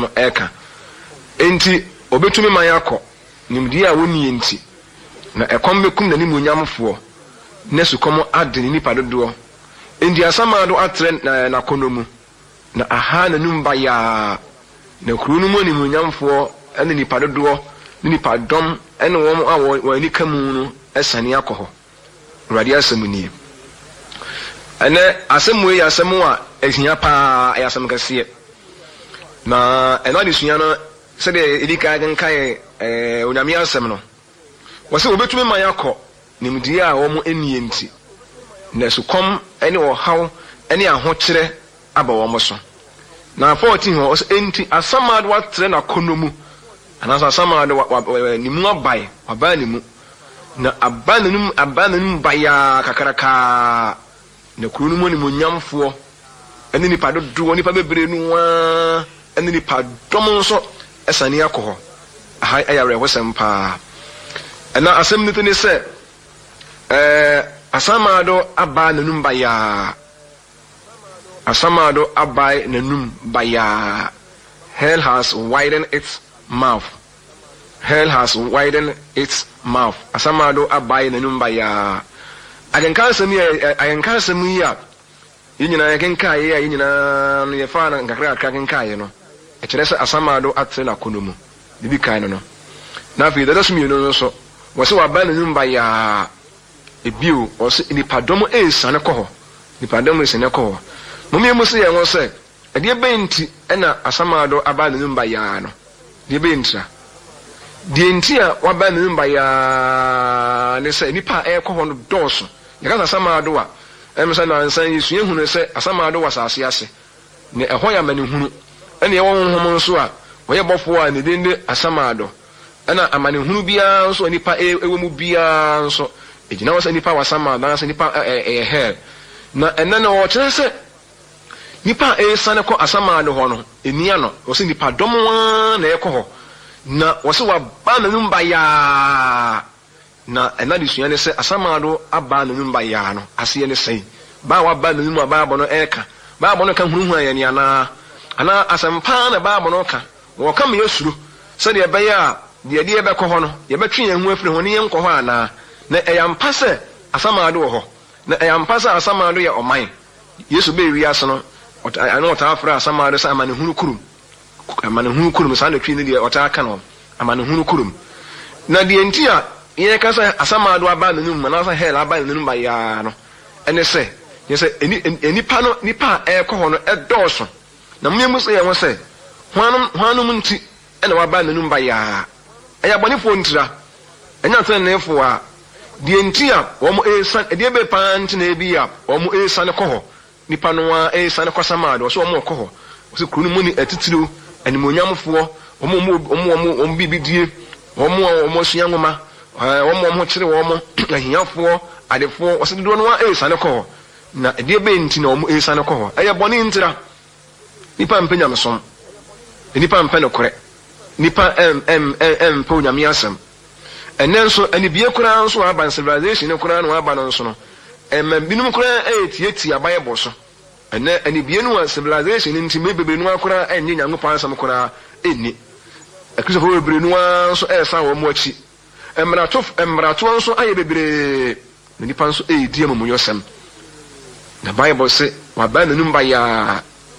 asɛm reka. Enti ɔbɛtumi man akɔ, nimdeɛ a wɔnnie nti, na ɛkɔm bɛkum n'animuonyamfoɔ, na sukɔm ade ne nnipa dodoɔ. Enti Asamando atrɛ n'akɔnnɔ mu, na ahaa n'anom bayaa, na kuro no mu animuonyamfoɔ ne nnipa dodoɔ ne nnipadɔm ne wɔn a wɔn ani ka mu no asiane akɔ hɔ. Awurade asɛm nie. Ɛnɛ asɛm wei yɛ asɛm a ɛhia paa, ɛyɛ asɛm kɛseɛ. Na ɛno adesua no, sɛdeɛ yɛdi kan kenkan ɛɛ Onyame asɛm no, wɔsɛ wɔbɛtumi ma yɛakɔ nimdeɛ a wɔn nnie nti, na sukɔm ne ɔhaw ne ahokyerɛ aba wɔn so. Na 14 hɔ, ɔsɛ enti Asamando atrɛ n'akɔnnɔ mu, anaasɛ Asamando wa, wa, wa, ne mu abae, wabae ne mu, na aba n'anum, aba n'anum bayaa kakrakaa, na kuro no mu animuonyamfoɔ ne nnipa dodoɔ, nnipa bebree no ara ne nnipa dɔm nso sane akɔ hɔ. Aha yɛ awerɛhosɛm paa. Ɛna asɛm no ti ne sɛ, ɛɛ, Asamando abaa n'anum bayaa. Asamando abae n'anum bayaa. Hell has widened its mouth. Hell has widened its mouth. Asamando abae n'anum bayaa. Akenkan asɛm yi a akenkan asɛm yi a yɛn nyinaa yɛkenkaeɛ a yɛn nyinaa no yɛfaa no nkakrakakra kenkaeɛ no, ɛkyerɛ sɛ Asamando atrɛ n'akɔnnɔ mu. Deɛ ɛdi kan no no. Na afei deɛ ɛtɔ so mmienu no nso, wɔse wabae n'anum bayaa. Bio, ɔse nnipadɔm resiane kɔ hɔ, nnipadɔm resiane kɔ hɔ. Mom yɛmmisa yɛn ho sɛ, ɛdeɛ bɛn nti na Asamando aba n'anum bayaa no? Deɛ bɛn ntira? Deɛ nti a waba n'anum bayaa ne sɛ nnipa a ɛrekɔ hɔ no dɔɔso. Yɛka sɛ Asamando a, ɛm sɛ nansa yi yɛsua hunu sɛ Asamando wɔ asase ase, na ɛhɔ yɛ amanehunu. Ɛna yɛwɔ honhom nso a ɔyɛ bɔfoɔ a ne din de Asamando. Ɛna amanehunu biara nso a nnipa wɔ mu biara nso, ɛgyina hɔ sɛ nnipa wɔ asaman anaasɛ nnipa ɛyɛ hell. Na ɛnnɛ no wɔkyerɛ sɛ nnipa a ɛresiane kɔ asaman no hɔ no, ɛnni ano. Wɔse nnipa dɔm ara na ɛrekɔ hɔ. Na wɔse wɔaba n'anum bayaa. Na ɛno adesua ne sɛ asamando aba n'anum bayaa no aseɛ ne sɛn? Ba a waba n'anum a Bible no reka? Bible no ka hunahuna yɛn anaa? Anaa asɛmpa ara na Bible no ka? Wɔka ma yɛsuro sɛdeɛ ɛbɛyɛ a deɛ ɛde yɛn bɛkɔ hɔ no, yɛbɛtwe yɛn ho afiri ho ne yɛnkɔ hɔ anaa? Na ɛyɛ ampa sɛ asamando wɔ hɔ? Na ɛyɛ ampa sɛ asamando yɛ ɔman? Yesu baa wiase no, ɔtaa, na wɔtaa frɛ asamando sɛ amanehunu kurom. Amanehunu kurom, saa na Twi no deɛ wɔtaa ka no, amanehunu kurom. Na deɛ nti a yɛka sɛ asamando aba n'anum anaasɛ hell aba n'anum bayaa no, ɛne sɛ, kyerɛ sɛ nnipa no, nnipa a ɛrekɔ hɔ no dɔɔso. Na mommimmisa yɛn ho sɛ, 'Hwannom, hwannom nti na wɔabae n'anom bayaa? Ɛyɛ abɔnefoɔ ntira, ɛnyɛ ateneneefoɔ a. Deɛ nti a wɔresiane, ɛdeɛ bɛn paa nti na ebia wɔresiane kɔ hɔ? Nnipa no ara resiane kɔ Samar de, wɔse wɔrekɔ hɔ. Wɔse kuro no mu ne atitiriw, animuonyamfoɔ, wɔn a wɔwɔ wɔn wɔn biribi die, wɔn a wɔasua nwoma, wɔn a wɔn ho kyere wɔn, ahiafoɔ, adefoɔ, wɔse dodoɔ no ara resiane kɔ hɔ. Na ɛdeɛ bɛn nti na wɔresiane kɔ hɔ? Ɛyɛ bɔne ntira. Nnipa mpɛ nyamesom. Nnipa mpɛ nokorɛ. Nnipa mpɛ Onyame asɛm. Ɛnnɛ nso, anibue koraa nso a aba no, civilization no koraa na aba no nso no, ɛma binom koraa retiatia Bible so. Ɛnnɛ, anibue no a civilization no nti, bebree no ara koraa nnye Nyankopɔn asɛm koraa nni. Akristofoɔ bebree no ara nso resan wɔn akyi. Mmarato, mmaratoɔ nso ayɛ bebree, na nnipa nso redi amumuyɔsɛm. Na Bible se, Wabae n'anom bayaa.